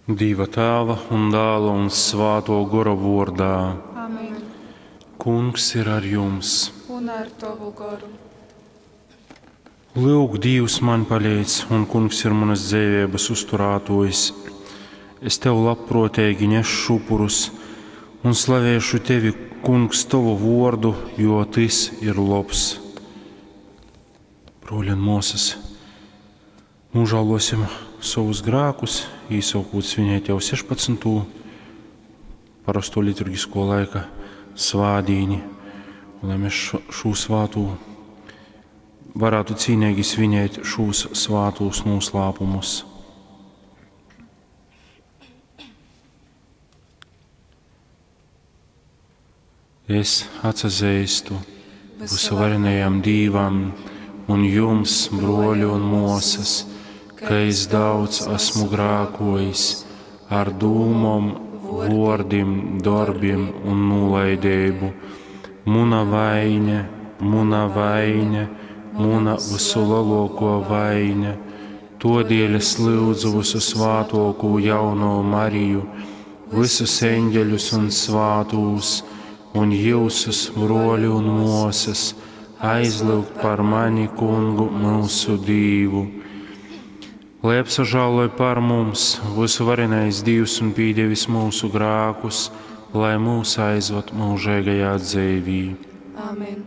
Dīva Tāva un Dāla un Svātō Gora vōrdā. Amen. Kungs ir ar jums. Un ar tovu goru. Lyuk, Dīvs man palīdz, un Kungs ir manas dzeiveibas uzturātōjs. Es tev labprōteigi nesšu upurus un slavēšu tevi, Kungs, tovu vōrdu, jo tys ir lobs. Brōļi un mōsas, nožēlosim savus grēkus, īsākot svinēt jau 16. Parasto liturgisko laika svādīni, un lai mēs šo, šo svātū varētu cīnīgi svinēt šos svātūs noslēpumus. Es atsazīstu visuvarenajam Dīvam un jums, broļi un mosas, ka es daudz esmu grākojis ar dūmom, vordim, darbiem un nolaidību. Muna vaine, muna vaine, muna visulielāko vaine. Todēļ es lūdzu visu svātoko jauno Mariju, visus eņģeļus un svātūs, un jūsus, broļi un mosas, aizlūgt par mani, kungu, mūsu Dīvu. Lai apsažāloj par mums visuvarenais Dīvs un pīdevis mūsu grākus, lai mūs aizvad mūžīgajā dzīvī. Amen.